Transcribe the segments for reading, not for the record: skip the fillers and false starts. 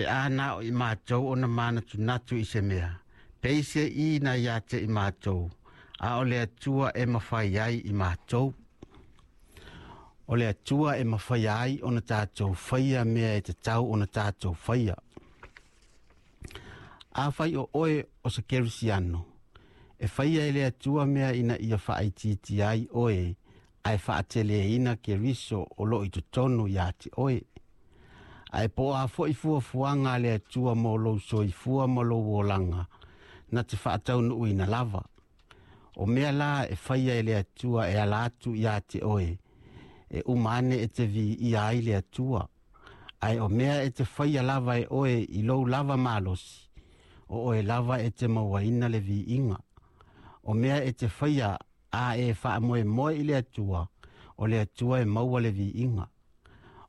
Pe a na o i mātou ona manatunatu i se mea, peise i na ia te i mātou, a o le Atua e mawhai ai i mātou. O le Atua e mawhai ai ona tātou whaia mea e te tau ona tātou whaia. A whai o oe o se kerisiano, e whaia e le Atua mea ina ia whaaititi ai oe, ae whaatele ina Keriso o lo i totonu ia te oe. Ae po a fo i fuafuaga a le Atua mo lou soifua ma lou olaga, na te faataunuuina lava. O mea la e faia e le Atua e ala atu ia te oe, e uma ane e te viia ai le Atua. Ae o mea e te faia lava e oe i lou lava malosi, o oe lava e te mauaina le viiga. O mea e te faia a e faamoemoe i le Atua, o le Atua e maua le viiga.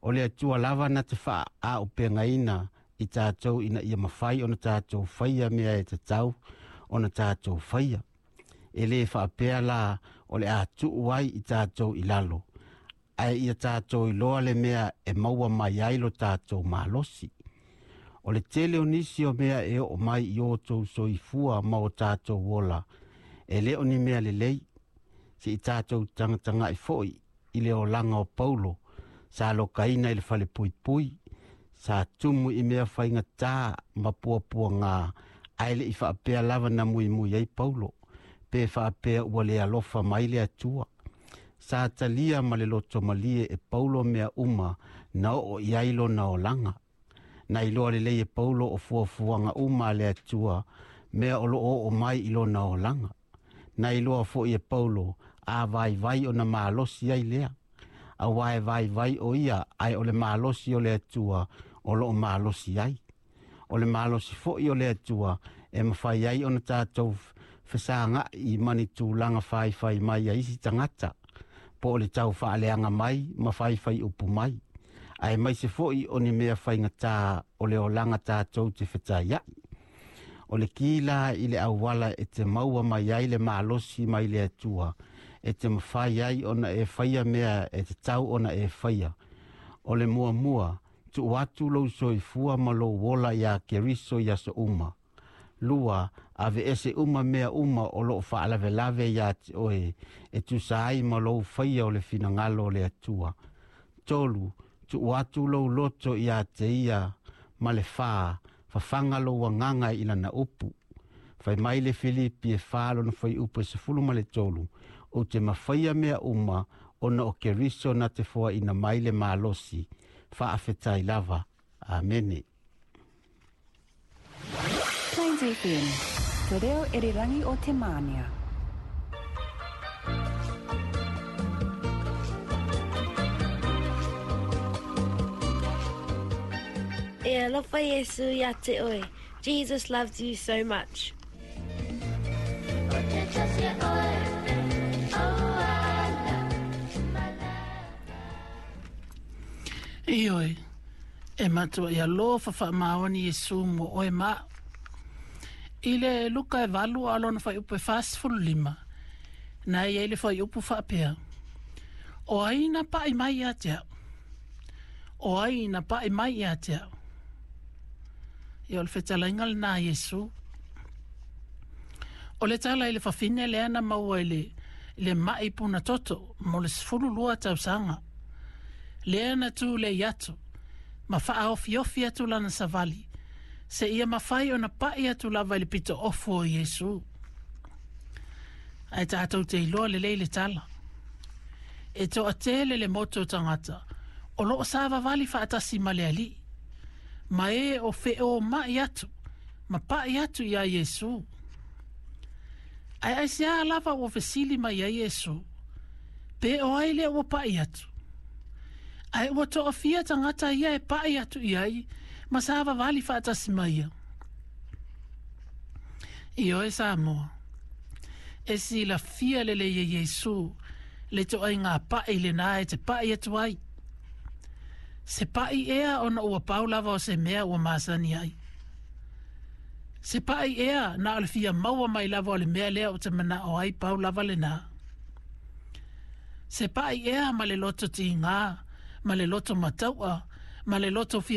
O le Atua lava na te faaaupegaina i tātou ina ia mafai ona tātou faia mea e tatau ona tātou faia. E le faapea la o le a tuu ai i tātou i lalo, ae ia tātou iloa le mea e maua mai ai lo tātou malosi. O le tele o nisi o mea e oo mai i o tou soifua ma o tātou ola, e le o ni mea lelei, se i tātou tagatagai foi i le olaga o Paulo, sa lokaina i le falepuipui, sa tumu i mea faigata ma puapuaga, ae le i faapea lava na muimui ai Paulo, pe faapea ua le alofa mai le Atua. Sa talia ma le loto malie e Paulo mea uma na oo i ai lona olaga. Na iloa lelei e Paulo o fuafuaga uma a le Atua, mea o loo oo mai i lona olaga. Na iloa foi e Paulo a vaivai ona malosi ai lea. Auā e vaivai o ia, ae o le malosi o le Atua o loo malosi ai. O le malosi foi o le Atua e mafai ai ona tātou fesagai ma ni tulaga faifai mai a isi tagata, po o le tau faaleaga mai ma faifai upu mai, ae maise foi o ni mea faigata o le olaga tātou te fetaiai. O le ki la i le auala e te maua mai ai le malosi mai le Atua, e te mafai ai ona e faia mea e te tau ona e faia. O le muamua, tuu atu lou soifua ma lou ola iā Keriso i aso uma. Lua, aveese uma mea uma o loo faalavelave iā te oe, e tusa ai ma lou faia o le finagalo o le Atua. Tolu, tuu atu lou loto iā te ia, ma le fā, fafaga lou agaga i lana upu. Fai mai le Filipi e 4 lona fuaiupu e 13, ou te mafaia mea uma ona o Keriso na te foaina mai le malosi. Faafetai lava. Amene. Plains FM, te reo irirangi o te mānia. E alofa Iesu ia te oe. Jesus loves you so much. Ioe, e matua ia lofa faamaoni Iesu mo oe ma au. I le Luka e 8 a lona fuaiupu e 45, na e i ai le fuaiupu faapea, O ai na paʻi mai ia te au? O ai na paʻi mai ia te au? Ia o le fetalaiga lenā a Iesu. O le tala i le fafine lea na maua i le, i le maʻi puna toto mo le 12 tausaga. Lea na tulei atu ma faaofiofi atu lana savali seia mafai ona paʻi atu lava i le pito ofu o Iesu. Ae tātou te iloa lelei le tala. E toatele le motu o tagata o loo savavali faatasi ma le Alii, ma e o feomaʻi atu ma paʻi atu iā Iesu. Ae aisea lava ua fesili mai ai Iesu, Pe o ai lea ua paʻi atu? Ae ua toafia tagata ia e paʻi atu i ai ma savavali faatasi ma ia. Ioe Samoa, e silafia lelei e Iesu le ituaiga paʻi lenā e te paʻi atu ai. Se paʻi ea ona ua pau lava o se mea ua masani ai. Se paʻi ea na o le fia maua mai lava o le mea lea ou te manao ai pau lava lenā. Se paʻi ea ma le loto tigā, ma le loto mataua, ma le loto fia